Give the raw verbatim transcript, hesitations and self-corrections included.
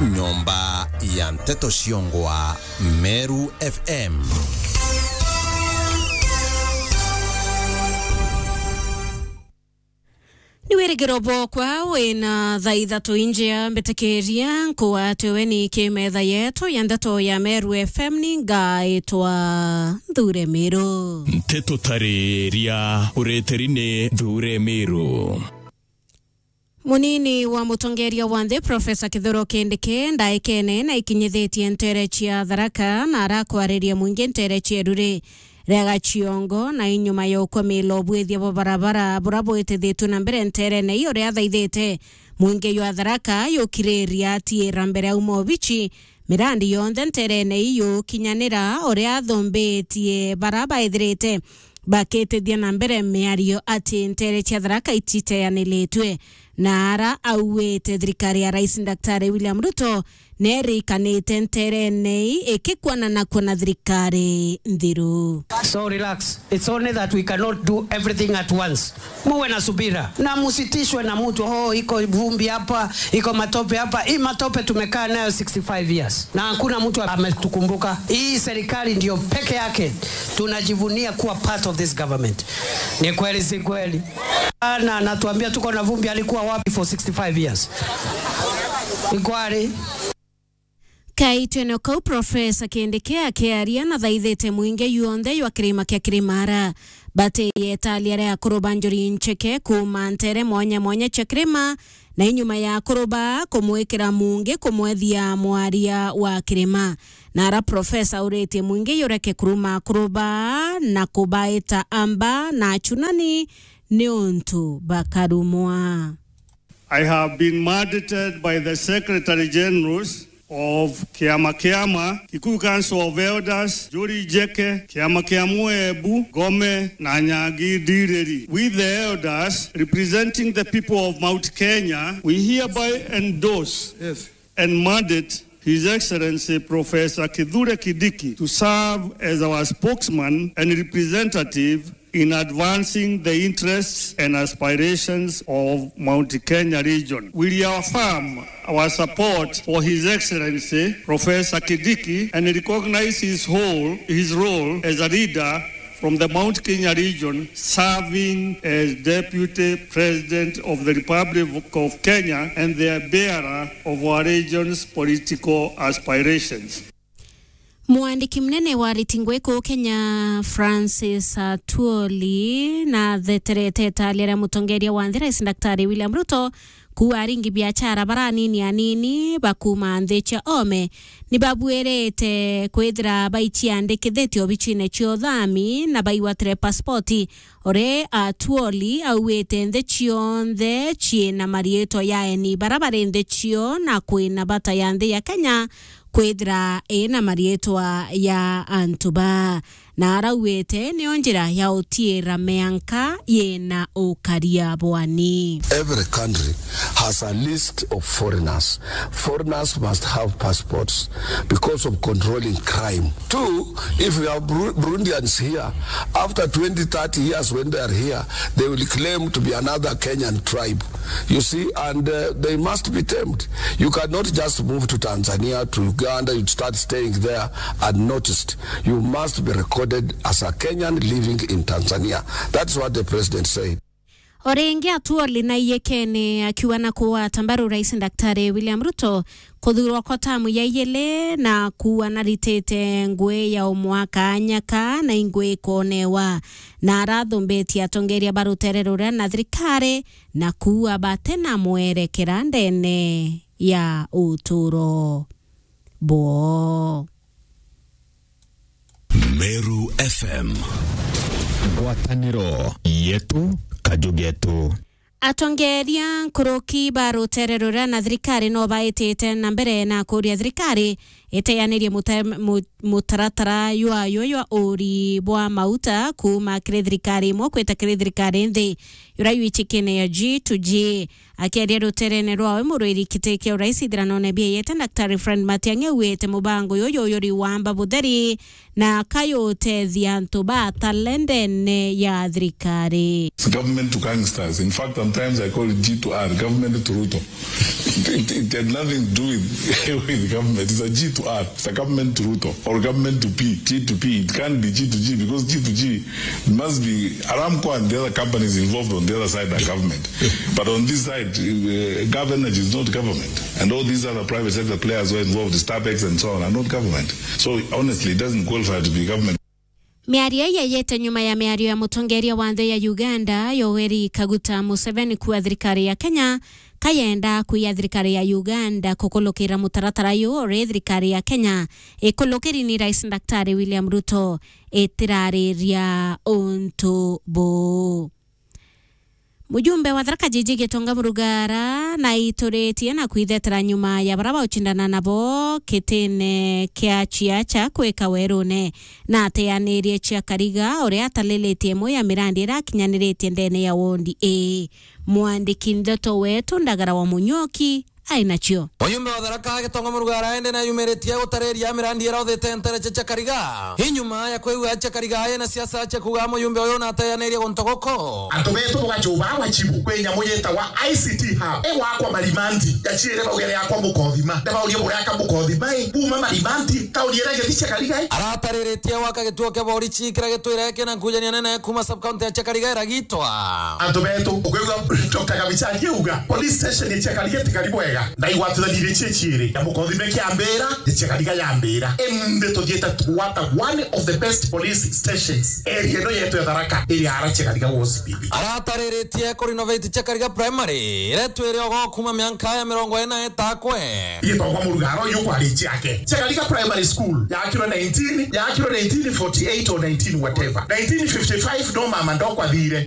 Nyomba ya nteto ciongwa Meru F M. Ni wirigiro bwokwa wina thaa ithatu injia mbitikiria nkuatwe we ni kimetha yetu ya ndeto ya Meru F M ni ngaitwa Nthure Miru. Nteto tariria ureteri ni Nthure Miru. Munini wa mutongeria wa nthi, Profesa Kithure Kindiki, ndaikene na ikinyithitie ntere cia Tharaka na arakwariria mwingi ntere cia Ruri ria Gachiongo, na inyuma ya ukwamila ubwithia bwa barabara bura bwitithitue na mbere nterene iu, uria athaithite mwingi jwa Tharaka yukiriria atiira mbere auma obici mirandi yonthe nterene iu yukinyanira, uria athumbitie bara baithirite bakitithia na mbere miario ati ntere cia Tharaka ititeanilitue, na ara auite thirikari ya Rais Daktari William Ruto nerikanite nterene ii ikikwanana kwona thirikari nthiru. So relax. It's only that we cannot do everything at once. Muwe na subira. Na musitishwe na mtu, "Oh, iko vumbi hapa, iko matope hapa." Hii matope tumekaa nayo sixty-five years. Na hakuna mtu ametukumbuka. Hii serikali ndio peke yake tunajivunia kuwa part of this government. Ni kweli, si kweli? Na anatuambia tuko na vumbi, alikuwa wapi for sixty-five years? Ni kweli? Kaitwene kau, Profesa Kindiki akiaria na thaithite mwingi yonthe jwa kirima kia Kirimara. Bati yetalia ria akuru ba Njuri Ncheke kuuma ntere mwanya mwanya cia kirima, na inyuma ya akuru ba kumwikira mungi kumwethia mwaria wa kirima. Na ara Profesa auritie mwingi yureke kuruma akuru ba na kubaita amba na achunani ni untu bakarumwa. I have been mandated by the Secretary Generals of Kiama Kiama, Kikuyu Council of Elders, Njuri Njeke, Kiama kia Muebu, Ngome, na Nyangi Ndiriri, with the elders representing the people of Mount Kenya. We hereby endorse, yes, and mandate His Excellency Professor Kithure Kindiki to serve as our spokesman and representative in advancing the interests and aspirations of Mount Kenya region. We reaffirm our support for His Excellency Professor Kindiki and recognize his whole, his role as a leader from the Mount Kenya region, serving as Deputy President of the Republic of Kenya and the bearer of our region's political aspirations. Mwandiki munene wa riti ngui kuu Kenya, Francis Atwoli, na atheterete italia ria mutongeria wa nthi, Rais Daktari William Ruto, kuuga aringi biachara baranini anini bakuuma nthi cia ome ni babuirite kwithira baiciandikithitie obicine cia uthami na baigwatire pasipoti. Ore Atwoli augite nthi cionthe ciina mariitwa ya eni bara bari nthi cio na kwina bata ya nthi ya Kenya kwithira ina mariitwa ya antu ba. Na arauite nio njira ya utiira mianka yina ukaria bwani. Every country has a list of foreigners. Foreigners must have passports because of controlling crime. Two, if we have Bru-, Burundians here, after twenty, thirty years when they are here, they will claim to be another Kenyan tribe. You see, and, uh, they must be tamed. You cannot just move to Tanzania, to Uganda, you start staying there unnoticed. You must be recorded as a Kenyan living in Tanzania. That's what the president said. O ringi Atwoli na iyekene akiuga na kugwata mbaru Rais Daktari William Ruto kuthurwa kwa tamu ya iyili na kuuga naritite ngui ya umwaka nyaka na ingui ikonewa. Na arathumbitie atongeria ba rutere ruria na thirikari na kuuga batena mwerekera ndene ya uturo bwoo. Meru F M. Ngwataniro yetu, kaju getu. Atongeria nkuruki ba rutere ruria na thirikari no baitite na mbere na kuria thirikari iteanirie muta-, mu-, mutaratara jwayo jwa uri bwa mauta kuuma kiri thirikari imwe kwita kiri thirikari nthi. uria yu icikene ya G to G. Akiaria ruterene rwawe murwiri kiti kia urais ithiranone bieyete, Daktari Fred Matiang'i augite mubango yuyu yuri wamba butheri na akayutethia antu ba talendene ya thirikari. It's government to gangsters. In fact, sometimes I call it G to R, government to Ruto. It, it, it had nothing to do with, with government. It's a G to R. It's a government to Ruto or government to P, G to P. It can't be G to G because G to G must be Aramco and the other companies involved on the other side are government. But on this side, uh, Gov Energy is not government. And all these other private sector players who are involved, Starbex and so on, are not government. So honestly, it doesn't qualify to be government. Miario ii yeyete nyuma ya miario ya mutongeria wa nthi ya Uganda, Yoweri Kaguta Museveni, kuuga thirikari ya Kenya kayenda kuiya thirikari ya Uganda kukulukira mutaratara uyu uri thirikari ya Kenya ikulukiri ni Rais Daktari William Ruto itirariria untu buu. Mujumbe wa Tharaka Jiji Gitonga Murugara naituritie na kwithetera nyuma ya bara baucindana nabo kitine kia Chiacha kwika werune, na ateanirie Chiakariga uria atalilitie imwe ya mirandi irakinyaniritie ndene ya wondi A. Mwandiki ndeto wetu Ndagara wa Munyoki ai nacio. Muyumbe wa Tharaka Gitonga Murugara ende nayumiritie gutariria mirandi irathite ntere cia Chiakariga. Hi nyuma ya kwigua Chiakariga ena siasa cia kuuga muyumbe uyu nateanirie guntu guku. Antu betu bugacuba wachibu kwi nyamu yetagwa I C T Hub. Igwakwa Marimanti, yachiire baugere yakwa Mukothima. Ndabaurie buraka Mukothima i, buma Marimanti, tauni iria igethi Chiakariga i. Aratariritie gwaka gituo kia borichi kiria gitwire kina nkujania nene kuma sub county ya Chiakariga iragitwa. Antu betu, ukwigua Doctor Kabicha akiuga, police station ya Chiakariga tikari bwega, na igwatithanire ichi ichiiri, ya Mukothime kiambira, ya Chiakariga yambira. Indi tuthiite twata one of the best police stations area ino yetu ya Tharaka, iria ara Chiakariga was bibi. Aratariritie ku renovate Chiakariga Primary, iria twire ogo kuma mianka ya mirongo ina itakwe. Gitongwa Murugara uyu kwari ciake. Chiakariga Primary School, yakirwe nineteen, yakirwe nineteen forty-eight or nineteen whatever. Nineteen fifty-five no mama ndokwa thire.